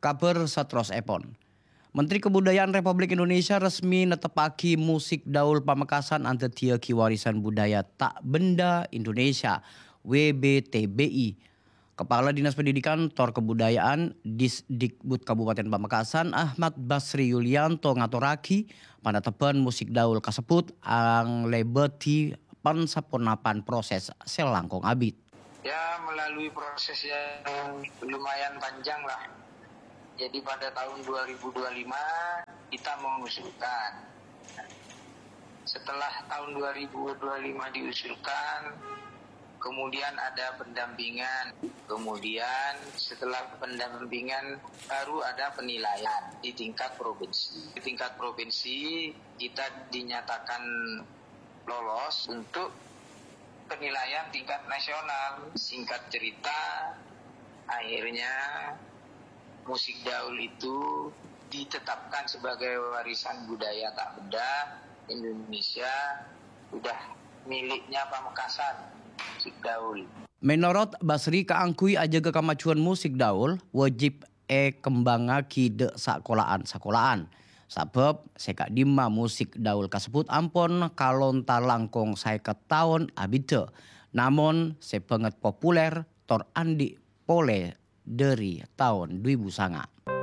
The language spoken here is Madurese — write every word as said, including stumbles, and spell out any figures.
Kabhâr saterrossèpon. Menteri Kebudayaan Republik Indonesia resmi netteppaghi musik daul Pamekasan andaddhiyâghi warisan budaya ta' benda Indonesia, W B T B I. Kepala Dinas Pendidikan tor Kebudayaan Disdikbud Kabupaten Pamekasan, Ahmad Basri Yulianto, ngatorraghi panattebbhân musik daul kasebbhut anglèbâdhi pan-saponapan proses sè langkong abit. Ya, melalui proses yang lumayan panjang lah. Jadi pada tahun dua ribu dua lima kita mengusulkan. Setelah tahun dua ribu dua lima diusulkan, kemudian ada pendampingan. Kemudian setelah pendampingan baru ada penilaian di tingkat provinsi. Di tingkat provinsi kita dinyatakan lolos untuk penilaian tingkat nasional. Singkat cerita, akhirnya musik daul itu ditetapkan sebagai warisan budaya tak benda Indonesia, udah miliknya Pamekasan, musik daul. Menorot Basri, kaangghuy ajâgâ kamajuwân musik daul, wajib èkembhângaghi dâ' sakola'an-sakola'an. Sabâb sè ka'dimma musik daul kasebbhut ampon kalontar langkong saèket taon abiddhâ, namong sè bângèt populer tor andi' polè dhâri taon dhu èbu sanga'.